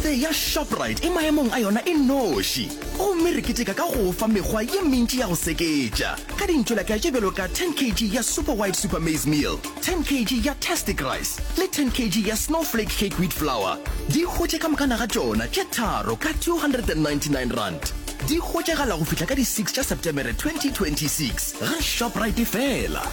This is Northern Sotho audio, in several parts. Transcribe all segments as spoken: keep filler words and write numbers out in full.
Sepetlele ya Shoprite e maemong a yona e noši, gomme re keteka ka go fa mekgwa ye mentši ya go seketša ka dintšwelaka tše bjalo ka ten kg ya Super White Super Maize Meal, ten kg ya Tastic Rice le ten kg ya Snowflake Cake Wheat Flour. Di hwetše ka moka naga tšona tše tharo ka two hundred and ninety-nine rand. Di hwetšagala go fihla ka di six tša Septemere twenty twenty-six ga Shoprite fela.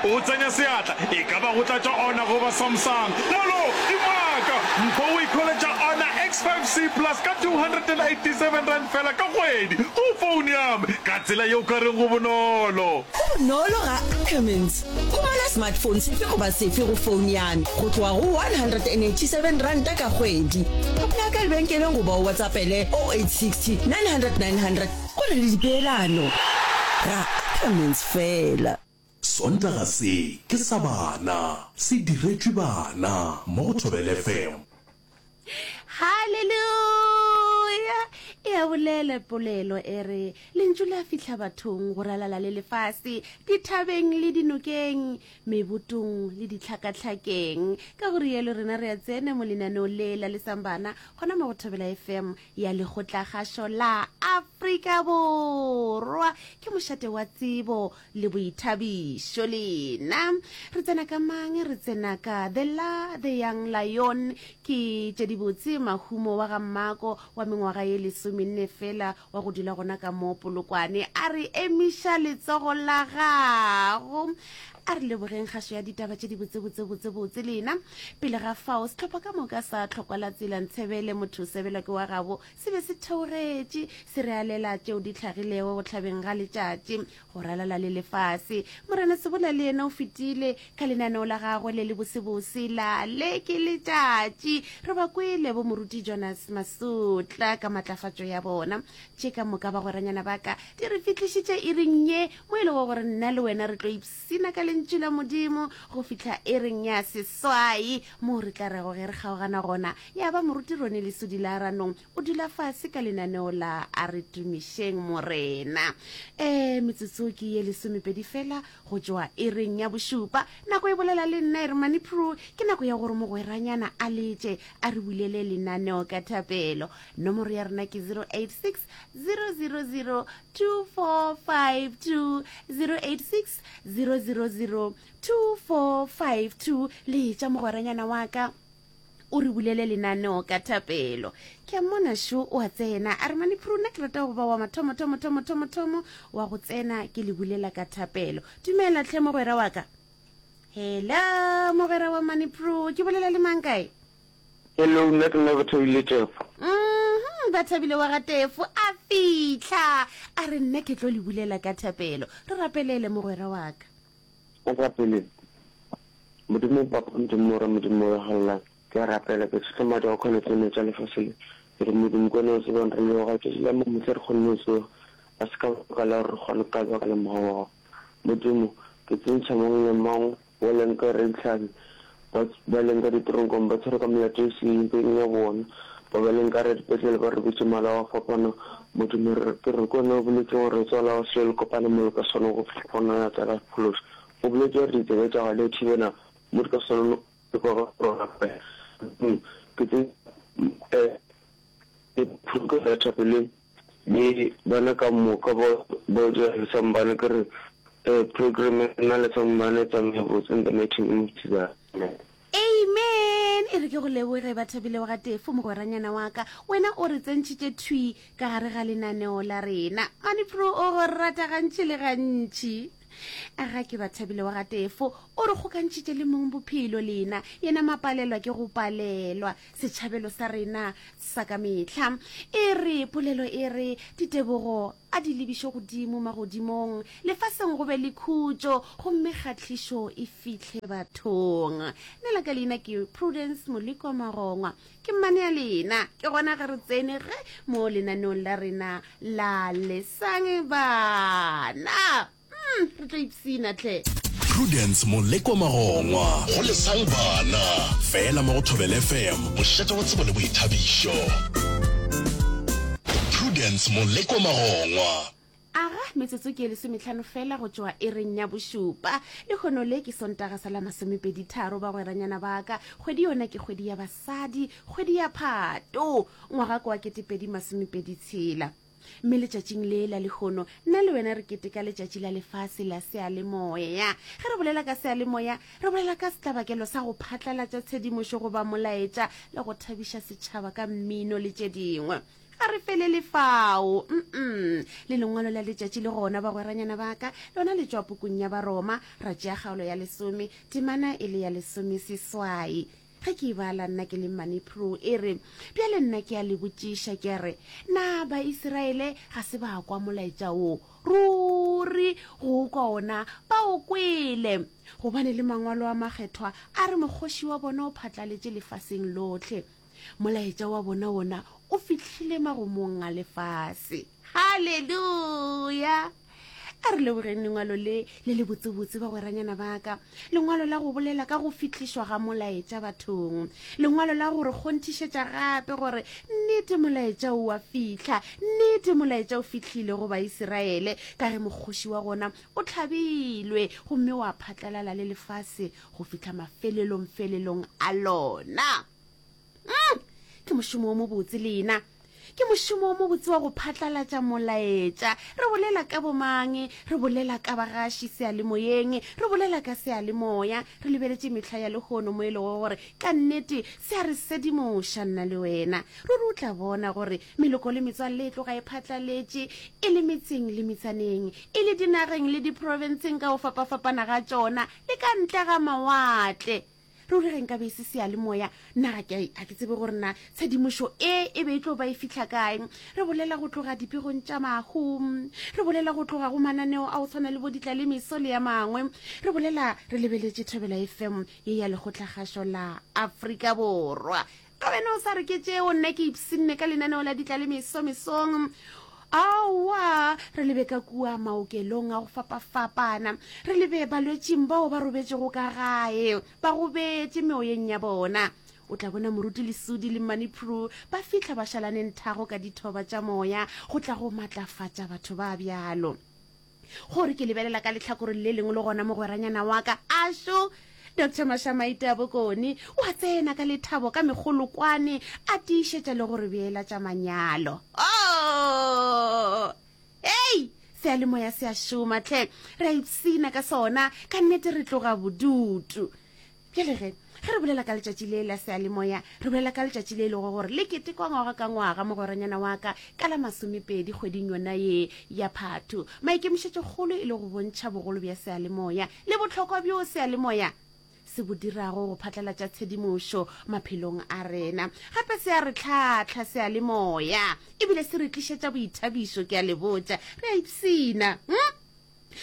O tsenya seatla, e ka ba go tlatša Honor goba Samsung. Molo, dimaka! Mpho o ikhweletša Honor X five C Plus ka two hundred and eighty-seven rand fela ka kgwedi go phone ya me. Ka tsela ye o ka reng go bonolo. Go bonolo ga Ackermans. Humana smartphone sefe goba sefe go phone ya me go tloga go one hundred and eighty-seven ranta ka kgwedi. Ka ka lebenkeleng goba o WhatsAppele oh eight sixty nine hundred nine hundred go na le dipeelano. Ga Ackermans fela. Sontaga se ke sa bana, se diretšwe bana mo go Thobela F M. Haleluya! E a bolela polelo e re, Lentšu la fihla bathong go ralala le lefase, dithabeng le dinokeng, mebotong le ditlhakatlhakeng. Ka go rialo rena re a tsena mo lenaneong le la Lesang Bana gona mo go Thobela F M ya Lekgotlakgašo la Afrika Borwa. Ke mošate wa tsebo le boithabišo lena. Re tsena ka mang? Re tsena ka The La, The Young Lion, ke tše dibotse mahumo wa ga Mmako wa mengwaga ye lesomenne fela wa go dula gona ka mo Polokwane. A re emiša letsogo la gago. A re lebogeng kgašo ya ditaba tše di botse botse botse botse lena. Pele ga fao, sehlopha ka moka sa Tlhokwa la Tsela Ntshebele motho o sebelwa ke wa gabo se be se theogetše se re alela tšeo di hlagilego go hlabeng ga letšatši go ralala le lefase. Morena Sebola le yena o fetile ka lenaneo la gagwe le le bosebose la Le ke Letšatši. Re ba kwele bo moruti Jonas Masutla ka matlafatšo ya bona. Tše ka moka bagweranyana ba ka di re fihlišitše iring ye mo e lego gore nna le wena re tlo ipsina ka lentšu la Modimo go fihla iring ya seswai moo re tla rego ge re kgaogana gona ya ba moruti Rone Lesodi la Ranong o dula fase ka lenaneo la A re tumišeng Morena. Eh, metsotso ke ye lesomepedi fela go tšwa iring ya bošupa. Nako e bolela le nna e re Mani Prue, ke nako ya gore mogweranyana a letše a re bulele lenaneo ka thapelo. Nomoro ya rena ke zero eight six, zero zero zero, two four five two, zero eight six, zero zero zero, two four five two. Letša mogweranyana wa ka o re bulele lenaneo ka thapelo. Ke a mmona šo o a tsena a re Mani Prue, nna ke rata go ba wa mathomo thomo thomo thomo thomo wa go tsena ke le bulela ka thapelo. Dumela tlhe mogwera wa ka. Hello mogwera wa Mani Prue, ke bolela le mang kae? Hello, nna ke nna Bathabile Tefo. Mhm, Bathabile wa ga Tefo a fihla a re nna ke tlo le bulela ka thapelo. Re rapelele mogwera wa ka. O rapelele. Modimo Papa, Modimo Morwa, Modimo wa Galilea, ke a rapela ke tshotla madi a go kgona tseno tša lefase le. Ke re Modimo ke wena o tsebang re leboga tšatši la mamohla re kgonne go tsoga, ga se ka baka la gore re kgone ka baka la mogau wa gago. Modimo, ke tsentšha mang le mang wa leng ka Raditlhabi, ba, ba leng ka ditoronkong ba tshwerwe ka melato e seng ya bona, ba ba leng ka dipetlele ba robetše malao a fapana. Modimo, re, ke re ke wena o boletše gore re tswala wa selo le kopane mo le ka swana go fihla gona ya tla ka phološa. O boletše gore ditsebe tša gago di a thibela mo di ka swana le kwa ga rona. Modimo, ke tsentšha, eh, ke ya thapeleng le bana ka moka ba ba dira Lesang Bana, ke re eh, program ya rena Lesang Bana e tsamaye botse in the mighty name of Jesus. Amen. Amen. E re ke go leboge Bathabile wa ga Tefo mogweranyana wa ka, wena o re tsentšhitše thwi ka gare ga lenaneo la rena. Mani Pro o go rata gantši le gantši. A ga ke Bathabile wa ga Tefo o re kgokantšhitše le mong bophelo lena, yena mapalelwa ke go palelwa setšhabelo sa rena sa ka mehla. E re polelo e re ditebogo a di lebišwe godimo magodimong, lefaseng go be le khutšo gomme kgahlišo e fihle bathong. Nna la ka leina ke Prudence Moleko Magongwa, ke mmane ya lena. Ke gona ge re tsene ge mo lenaneong la rena la Lesang Bana. Mm, re tlo ipsina tlhe. Prudence Moleko Magongwa go Lesang Bana, fela mo go Thobela F M, mošate wa tsebo le boithabišo. Prudence Moleko Magongwa. Aga, metsotso ke e lesometlhano fela go tšwa iring ya bošupa. Lehono le ke Sontaga sa la masomepedi tharo, bagweranyana ba ka. Kgwedi yona ke kgwedi ya basadi, kgwedi ya Phato, ngwaga ke wa ketepedi masomepedi tshela. Mme letšatšing le la lehono, nna le wena re keteka letšatši la lefase la seyalemoya. Ge re bolela ka seyalemoya, re bolela ka setlabakelo sa go phatlalatša tshedimošo goba molaetša le go thabiša setšhaba ka mmino le tše dingwe. Ga re felele fao. Mm-mm. Le lengwalo la letšatši le gona, bagweranyana ba ka, lona le tšwa pukung ya Baroma, ra tšea kgaolo ya lesome, temana e le ya lesomeseswai. Ge ke e bala nna ke le Mmane Prue, e re, Bjale nna ke a le botšiša ke re, Na Baisiraele ga se ba kwa molaetša wo? Ruri go o kwa ona ba o kwele! Gobane le Mangwalo a Makgethwa a re mokgoši wa bona o phatlaletše lefaseng lohle. Molaetša wa bona wona o fihlile magomong a lefase. Haleluya! A re lebogeng lengwalo le le lebotsebotse, bagweranyana ba ka, lengwalo la go bolela ka go fihlišwa ga molaetša bathong, lengwalo la go re kgonthišetša gape gore nnete molaetša o a fihla, nnete molaetša o fihlile go Baisiraele, ka ge mokgoši wa gona o hlabilwe gomme wa phatlalala le lefase go fihla mafelelongfelelong a lona. Mm, ke mošomo wo mobotse lena. Ke mošomo wo mobotse wa go phatlalatša molaetša. Re bolela ka bomang? Re bolela ka bagaši seyalemoyeng. Re bolela ka seyalemoya. Re lebeletše mehla ya lehono mo e lego gore ka nnete se a re sedimoša nna le wena. Ruri o tla bona gore meloko le metswalle e tloga e phatlaletše e le metseng le metsaneng, e le dinageng le diprofenseng ka go fapafapana ga tšona le ka ntle ga mawatle. Ruri ge nkabe e se seyalemoya, nna ga ke, ga ke tsebe gore na tshedimošo e e be e tlo ba e fihla kae. Re bolela go tloga dipegong tša mahu, re bolela go tloga go mananeo a go tshwana le bo Ditlalemeso le ya mangwe, re bolela re lebeletše Thobela F M ye ya Lekgotlakgašo la Afrika Borwa. Ka wena o sa re ke tšeo, nna ke ipshinne ka lenaneo la Ditlalemeso mesong. Aowa, re lebe ka kua maokelong a go fapafapana, re lebe balwetšing bao ba robetšego ka gae, ba gobetše meoyeng ya bona. O tla bona Moruti Lesudi le Mmane Prue ba fihla ba šalane nthago ka dithoba tša moya go tla go matlafatša batho ba bjalo. Gore ke lebelela ka lehlakoreng le lengwe le gona mogweranyana wa ka, ašo, Doctor Mashamaite a Bokone, o a tsena ka lethabo ka megolokwane a tiišetša le go re beela tša manyalo. Oh! Hei! Seyalemoya se a šoma hle, re a ipshina ka sona, ka nnete re tloga bodutu. Bjale ge, ge re bolela ka letšatši le la seyalemoya, re bolela ka letšatši le e lego gore le ketekwa ngwaga ka ngwaga, mogweranyana wa ka, ka la masomepedi kgweding yona ye ya Phathu. Maikemišetšokgolo e le go bontšha bogolo bja seyalemoya le bohlokwa bjo seyalemoya se bo dirago go phatlalatša tshedimošo maphelong a rena. Gape se a re hlahla seyalemoya ebile se re tlišetša boithabišo, ke a le botša, re a ipshina. Hm?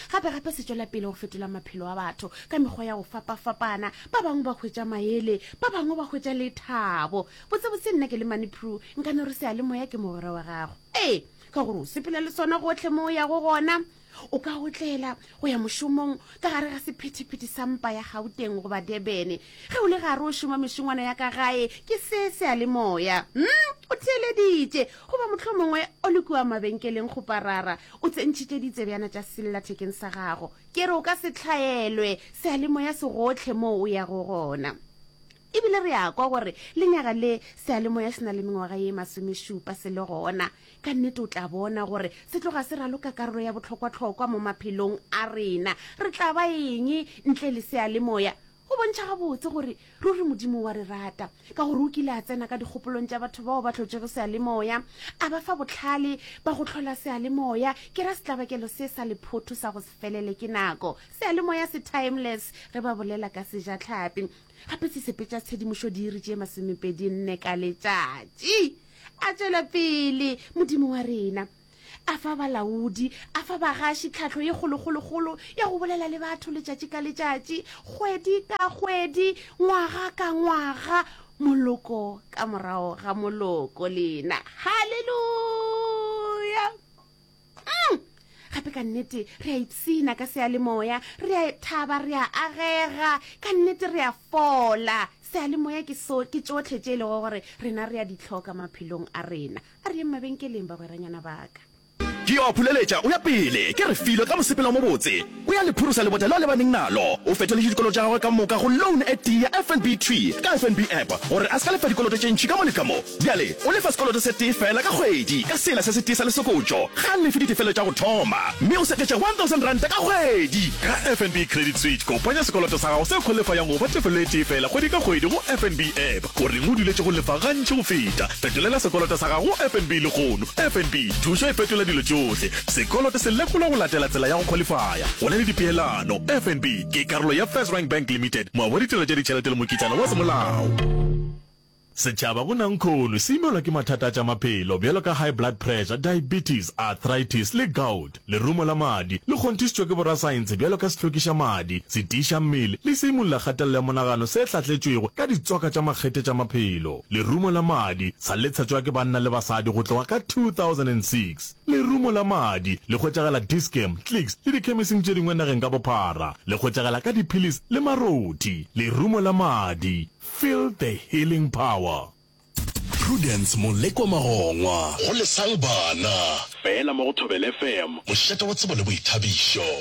Gape gape se tšwela pele go fetola maphelo a batho ka mekgwa ya go fapafapana. Ba bangwe ba hwetša maele, ba bangwe ba hwetša lethabo. Botsebotse nna ke le Mane Prue, nka no re seyalemoya ke mogwera wa gago. Ee, ka gore o sepela le sona gohle mo o yago gona. O ka otlela go ya mošomong ka gare ga sephethephethe sa mpa ya Gauteng goba Durban. Ge o le gare o šoma mešongwana ya ka gae, ke se seyalemoya. Hm, o theeleditše. Goba mohlomongwe o le kua mabenkeleng kgoparara, o tsentšhitše ditsebjana tša sellathekeng sa gago. Ke re o ka se hlaelwe, seyalemoya se gohle moo o yago gona. E bile re a kwa gore lenyaga le seyalemoya se na le mengwaga ye masomešupa se le gona. Ka nnete o tla bona gore se tloga se raloka karolo ya bohlokwahlokwa mo maphelong a rena. Re tla ba eng ntle le seyalemoya? Go bontšha gabotse gore ruri Modimo o a re rata, ka gore o kile a tsena ka dikgopolong tša batho bao ba hlotšego seyalemoya, a ba fa bohlale ba go hlola seyalemoya. Ke ra setlabakelo se sa lephotho sa go se felele ke nako. Seyalemoya se timeless ge ba bolela ka sejatlhapi. Gape se sepetša tshedimošo diiri tše masomepedi nne ka letšatši. A tšwela pele, Modimo wa rena a fa balaodi, a fa bagaši tlhahlo ye kgolokgolokgolo ya go bolela le batho letšatši ka letšatši, kgwedi ka kgwedi, ngwaga ka ngwaga, moloko ka morago ga moloko. Lena, haleluya! Mm. Gape ka nnete re a ipshina ka seyalemoya, re a thaba, re a agega, ka nnete re a fola. Seyalemoya ke so, ke tšohle tše e lego gore rena re a di hloka maphelong a rena. A re yeng mabenkeleng, bagweranyana ba ka. Ke yo a phuleletša o ya pele. Ke Refilwe ka mosepelo o mobotse. O ya le phurosa lebota leo a lebaneng nalo. O fetoletše dikoloto tša gagwe ka moka go loan e tee ya FNB thwi ka FNB app gore a se ka lefa dikoloto tše ntši ka mo le ka mo. Bjale o lefa sekoloto se tee feela ka kgwedi ka sela se setee sa lesokotšo. Ga a lefe ditefelo tša go thoma mme o seketša one thousand ranta ka kgwedi. Ka FNB Credit Switch, kopanya sekoloto sa gago se khwalifayang go ba tefelo e tee feela kgwedi ka kgwedi go FNB app. O reng o duletše go lefa gantši go feta? Fetolela sekoloto sa gago go FNB lehono. FNB, thušo e fetola dilo tšohle. Sekoloto se lekolwa go latela tsela ya go khwalifaya. Go na le dipeelano. FNB ke karolo ya FirstRand Bank Limited, moabi wa ditirelo tša ditšhelete le mokitlana wa semolao. Setšhaba go nankhono se imelwa ke mathata a tša maphelo bjalo ka high blood pressure, diabetes, arthritis le gout. Lerumo la madi le kgonthišitšwe ke borasaense bjalo ka sehlwekiša madi, setiiša mmele le seimolla kgatelelo ya monagano se hlahletšwego ka ditswaka tša makgethe tša maphelo. Lerumo la madi sa le tshetšwa ke banna le basadi go tloga ka two thousand and six Lerumo la madi le hwetšagala Dis-Chem, Clicks le dikhemising tše dingwe nageng ka bophara. Le hwetšagala ka diphilisi le marothi. Lerumo la madi, feel the healing power. Prudence Molekwa Magongwa. Go Lesang Bana. Fela mo go Thobela FM. Mošate wa tsebo le boithabišo.